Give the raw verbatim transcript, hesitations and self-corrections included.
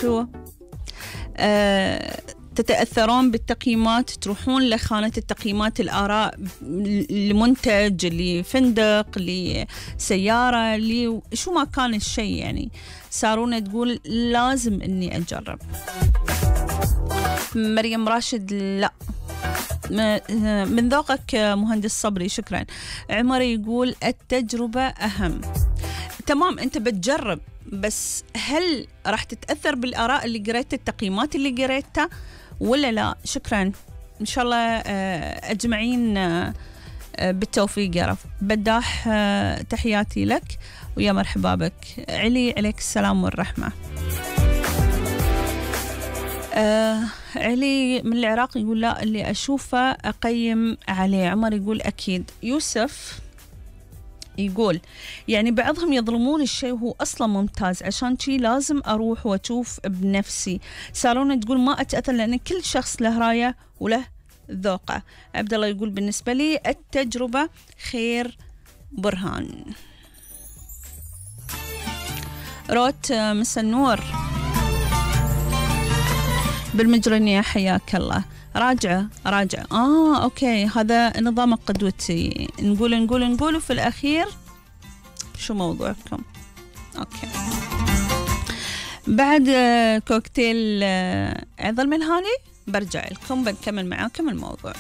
شو أه تتأثرون بالتقييمات، تروحون لخانة التقييمات الآراء لمنتج، لفندق، لسيارة، لشو ما كان الشيء يعني. سارونة تقول لازم إني أجرب. مريم راشد لا من ذوقك مهندس صبري شكرا. عمر يقول التجربة أهم. تمام أنت بتجرب، بس هل راح تتأثر بالآراء اللي قريتها، التقييمات اللي قريتها ولا لا؟ شكرا إن شاء الله أجمعين بالتوفيق يا رب. بداح تحياتي لك ويا مرحبا بك. علي عليك السلام والرحمة. آه علي من العراق يقول لا اللي أشوفه أقيم عليه. عمر يقول أكيد. يوسف يقول يعني بعضهم يظلمون الشيء وهو أصلا ممتاز، عشان شي لازم أروح وأشوف بنفسي. سارونة تقول ما أتأثر لأن كل شخص له راية وله ذوقه. عبد الله يقول بالنسبة لي التجربة خير برهان. روت مسا النور بالمجرنية حياك الله. راجعة راجعة آه أوكي هذا نظام قدوتي، نقول نقول نقول وفي الأخير شو موضوعكم. أوكي بعد كوكتيل عضل من هاني برجع لكم بنكمل معاكم الموضوع.